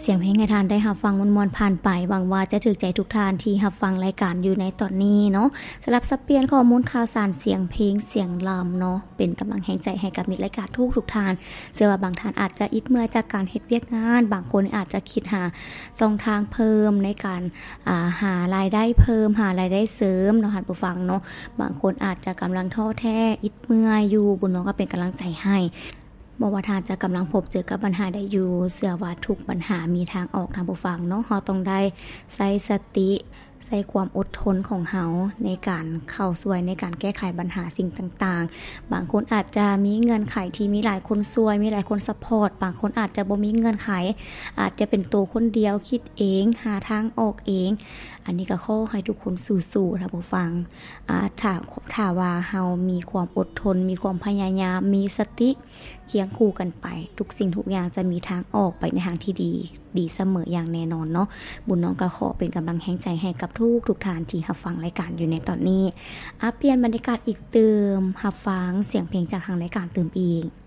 ສຽງເພງໃຫ້ທ່ານໄດ້ຮັບຟັງມ່ວນໆຜ່ານໄປ, ຫວັງວ່າຈະຖືກໃຈທຸກທ່ານທີ່ຮັບຟັງລາຍການຢູ່ໃນຕອນນີ້ເນາະ. ສຳລັບສັບປ່ຽນຂໍ້ມູນຂ່າວສານສຽງເພງສຽງລຳເນາະ ເປັນກຳລັງແຮງໃຈໃຫ້ກັບມິດລາຍການທຸກໆທ່ານ. ເຊື່ອວ່າບາງທ່ານອາດຈະອິດເມື່ອຍຈາກການເຮັດວຽກງານ, ບາງຄົນອາດຈະຄິດຫາຊ່ອງທາງເພີ່ມໃນການ ອ່າ ຫາລາຍໄດ້ເພີ່ມ, ຫາລາຍໄດ້ເສີມເນາະທ່ານຜູ້ຟັງເນາະ. ບາງຄົນອາດຈະກຳລັງທໍ້ແທ້, ອິດເມື່ອຍຢູ່, ບຸນນ້ອງກໍເປັນກຳລັງໃຈໃຫ້. ບໍ່ວ່າທ່ານຈະກຳລັງພົບເຈີກັບບັນຫາໃດຢູ່, ເຊື່ອວ່າທຸກບັນຫາມີທາງອອກທ່ານຜູ້ຟັງເນາະ. ເຮົາຕ້ອງໄດ້ໃຊ້ສະຕິ, ໃຊ້ຄວາມອົດທົນຂອງເຮົາໃນການເຂົ້າຊ່ວຍໃນການແກ້ໄຂບັນຫາສິ່ງຕ່າງໆ. ບາງຄົນອາດຈະມີເງື່ອນໄຂທີ່ມີຫຼາຍຄົນຊ່ວຍ, ມີຫຼາຍຄົນຊັບພອດ, ບາງຄົນອາດຈະບໍ່ມີເງື່ອນໄຂ, ອາດຈະເປັນໂຕຄົນດຽວ, ຄິດເອງ, ຫາທາງອອກເອງ. ອັນນີ້ກໍຂໍໃຫ້ທຸກຄົນສູ້ໆ ທ່ານຜູ້ຟັງ. ອາ ຖ້າ ຖ້າວ່າເຮົາມີຄວາມອົດທົນ, ມີຄວາມພະຍາຍາມ, ມີສະຕິຄຽງຄູ່ກັນໄປ, ທຸກສິ່ງທຸກຢ່າງຈະມີທາງອອກໄປໃນທາງທີ່ດີ, ດີສະເໝີຢ່າງແນ່ນອນເນາະ. ບຸນນ້ອງກໍຂໍເປັນກຳລັງແຮງໃຈໃຫ້ກັບທຸກໆທ່ານທີ່ຮັບຟັງລາຍການຢູ່ໃນຕອນນີ້. ອາ ປ່ຽນບັນຍາກາດອີກຕື່ມ, ຮັບຟັງສຽງເພງຈາກທາງລາຍການຕື່ມອີກ.